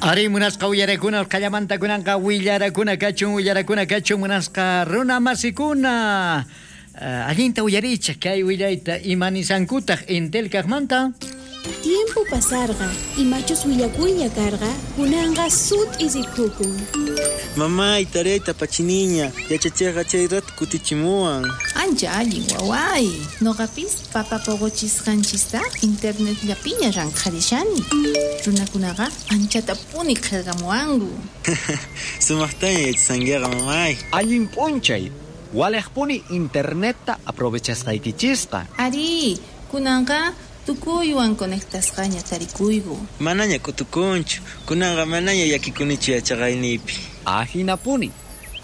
Ari munasqa uyarakuna qallamanta kunanqa willarakuna kachun willarakuna kachun munasqa runa masikuna. Allinta uyarichej kay willayta imanisankutaq Entel kaqmanta. Tiempo pasarqa, imachus willakuyña karqa, kunanqa sut'i rikukun. Mamay, tareyta apachiniña, yachachiqqa chay rato kutichimuwan. Ancha allin waway. Noqapis papa poqochisqanchista internetllapiña ranqharishani. Runakunaqa anchatapuni qillqamuwanku. Sumaqtaña yachashankiqa, mamay. Allin p'unchay, walejpuni internetta aprovechasqaykichisqa. Arí, kunanqa tukuywan conectasqaña tarikuyku. Manaña k'utukunchu, kunanqa manaña llakikunichu yachaqayniypi. Ajinapuni,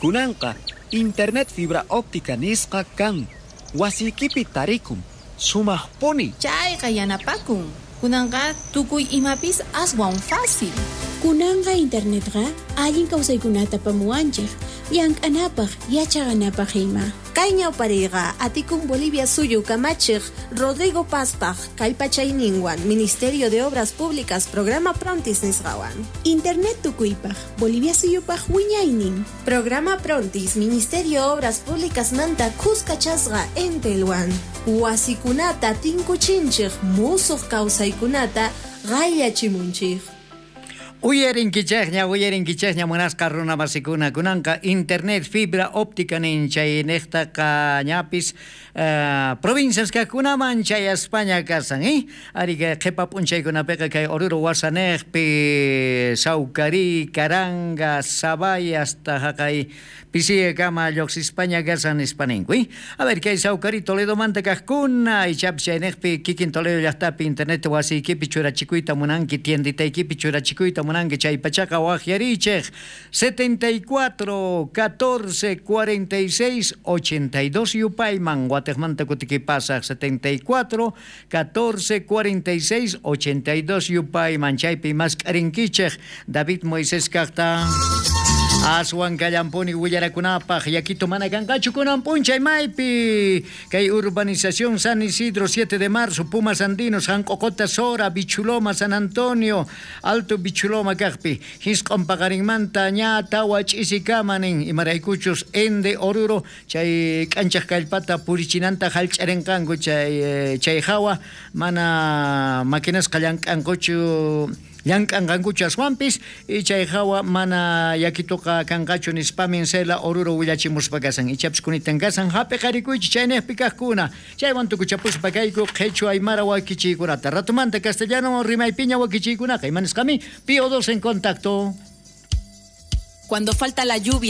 kunanqa internet fibra óptica nisqa kan, wasiykipi tarikun, sumaqpuni. Chayqa yanapakun. Kunanqa tukuy imapis aswan fácil. Kunanqa internetqa allin kawsaykunata apamuwanchej, llank'anapaj, yachaqanapaj ima. Kay ñawpariyqa atikun Bolivia suyu kamachiq Rodrigo Pazpaj kallpachayninwan Ministerio de Obras Públicas Programa Prontis nisqawan. Internet tukuypaj, Bolivia suyupaj wiñaynin. Programa Prontis Ministerio Obras Públicas manta kuskachasqa Entelwan. Wasikunata tinkuchinchik musuq kawsaykunata qayllachimunchik. Uyarinkichejña, uyarinkichejña munasqa runa masikuna kunanqa internet fibra óptica nin chay niqtaqa ñapis provincias kaqkunaman chayaspaña kasan, Ari kay qhipa p'unchaykunapiqa kay Oruro wasanejpi Saucarí, Caranga, Sabay hasta haqay Pisiyakama lluqsispaña kasan nispa ninku, A ver, kay Saucarí Toledomanta kaqkuna ichapis chayniqpi kikin Toledo llaqtapi internet wasiykipi churachikuyta munanki, tienditaykipi churachikuyta munanki chay pachaqa waqyarichej 74 14 46 82 yupayman watejmanta kutikipasaj 74 14 46 82 yupayman chaypi mask'arinkichej David Moisés kaqta. Aswan kallampuni willarakunapaj yakito mana kanqachu kunan p'unchay maypi kay urbanización San Isidro 7 de marzo Pumas Andinos Janq'uqota Sora Bichuloma San Antonio Alto Bichuloma kaqpi hisq'un paqarinmanta ña tawa ch'isikama nin imaraykuchus Ende Oruro chay k'anchaq kallpata purichinanta hallch'arinqanku chay hawa mana maquinasqa llank'ankuchu llank'anqankuchu aswanpis chay hawa mana yakituqa kanqachu nispamin Sela Oruro willachimuspa kasan ichapis kunitan kasan hap'iqarikuychik chayniqpi kaqkuna chaywan tukuchapuspa kayku qhichwa aymara wakichiykunata ratumanta castellano rimaypiña wakichiykunaqa ima nisqami Pío 2 en contacto. Cuando falta la lluvia.